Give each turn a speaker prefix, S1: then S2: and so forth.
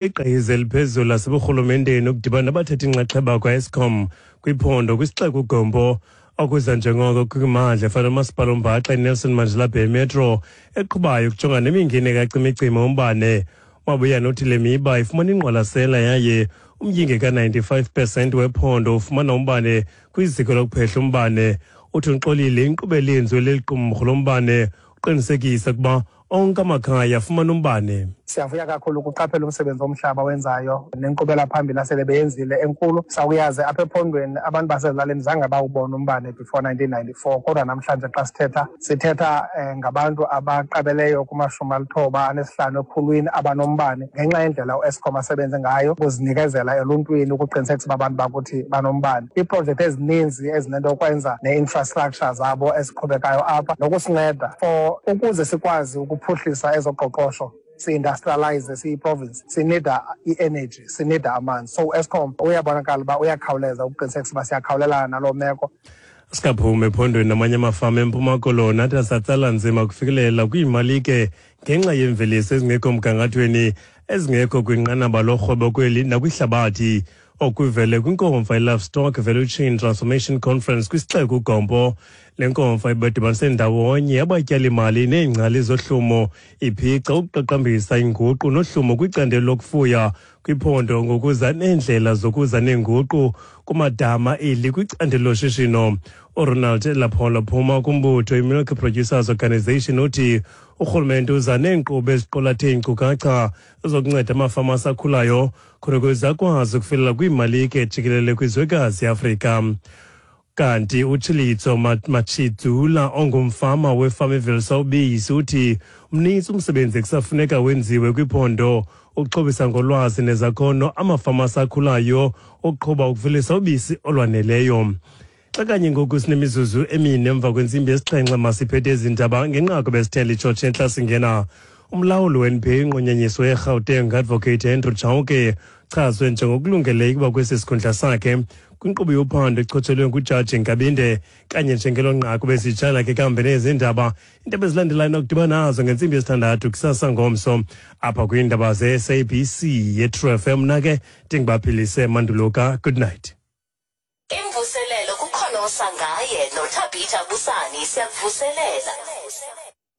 S1: Igqiza eliphezulu laseburhulumenteni ukudibana nabathatha inxaxheba kwa-Eskom kwiphondo kwisixeko uGompo okuza njengoko kwimandla efana nomasipala ombaxa iNelson Mandela Bay Metro eqhubayo ukujongana nemingeni kacimicimi umbane. Mabuyane uthi le miba ifumana ingqwalasela yaye umyinge ka-95 pesenti wephondo ufumana umbane kwiziko lokuphehla umbane. Uthi uxolile inkqubo elenziwe leli qumrhu lombane uqinisekisa ukuba onke amakhaya afumana umbane.
S2: Siyavuya kakhulu ukuqaphela umsebenzi omhlaba wenzayo nenkqubela phambili asele beyenzile enkulu. Sawuyazi apha ephondweni abantu basezilalini zange bawubona umbane before 1994, kodwa namhlanje xa sithetha sithetha eh, ngabantu abaqabeleyo kumashumi alithoba anesihlanu ekhulwini abanombane ngenxa yendlela uEskom asebenze ngayo ukuzinikezela eluntwini ukuqinisekisa uba abantu bakuthi banombane. Iiprojekthi ezininzi ezinento yokwenza ne-infrastructure zabo eziqhubekayo apha nokusinceda for ukuze sikwazi ukuphuhlisa ezoqoqosho si-industrialize siyi-province sinida i-energy sinida amanzi so uEskom uyabonakala uba uyakhawuleza ukuqinisekisa uba siyakhawulelana naloo meko.
S1: Sikaphuma ephondweni namanye amafama eMpuma Koloni athi asatsala nzima kufikelela kwiimalike ngenxa yeemveliso ezingekho mgangathweni ezingekho kwinqanaba lorhwebo kweli nakwihlabathi. Okuvele kwinkomfa iLivestock Value Chain Transformation Conference kwisixeko uGompo. Le nkomfa ibadibanise ndawonye abatyalimali neengcali zohlumo iphica ukuqaqambisa inguqu nohlumo kwicandelo lokufuya kwiphondo ngokuza neendlela zokuza neenguqu kumadama eli kwicandelo loshishino. URonald Lapholo phuma kumbutho iMilk Producers Organization uthi urhulumente uza neenkqubo eziqulathe iinkcukacha zokunceda amafama asakhulayo khona ukuze akwazi ukufikelela kwiimalike jikelele kwizwekazi iAfrika. Kanti uTshilitso Matshidzula ongumfama wefama evelisa ubisi uthi mnintsi umsebenzi ekusafuneka wenziwe kwiphondo ukuxhobisa ngolwazi nezakhono amafama asakhulayo ukuqhuba ukuvelisa ubisi olwaneleyo. Xa kanye ngoku sinemizuzu emine emva kwentsimbi yesixhenxe masiphethe ezi ndaba ngenqaku besithele itshotshe entla singena. Umlawuli we-NPA inqunyanyiswe eGauteng Advocate Andrew Chauke chazwe njengokulungeleyo ukuba kwesi sikhundla sakhe kwinkqubo yophando echotshelwe ngujaji Nkabinde kanye njengelo nqaku besitshala ke kambe nezi ndaba. Iindaba ezilandelayo nokudibana nazo ngentsimbi yesithandathu kusasa ngomso apha kwiindaba ze-SABC yeTrue FM. Mna ke ndingubaphilise Manduluka, good night.
S3: Imvuselelo kukhonosa ngaye noThabitha Busani siyakuvuselela.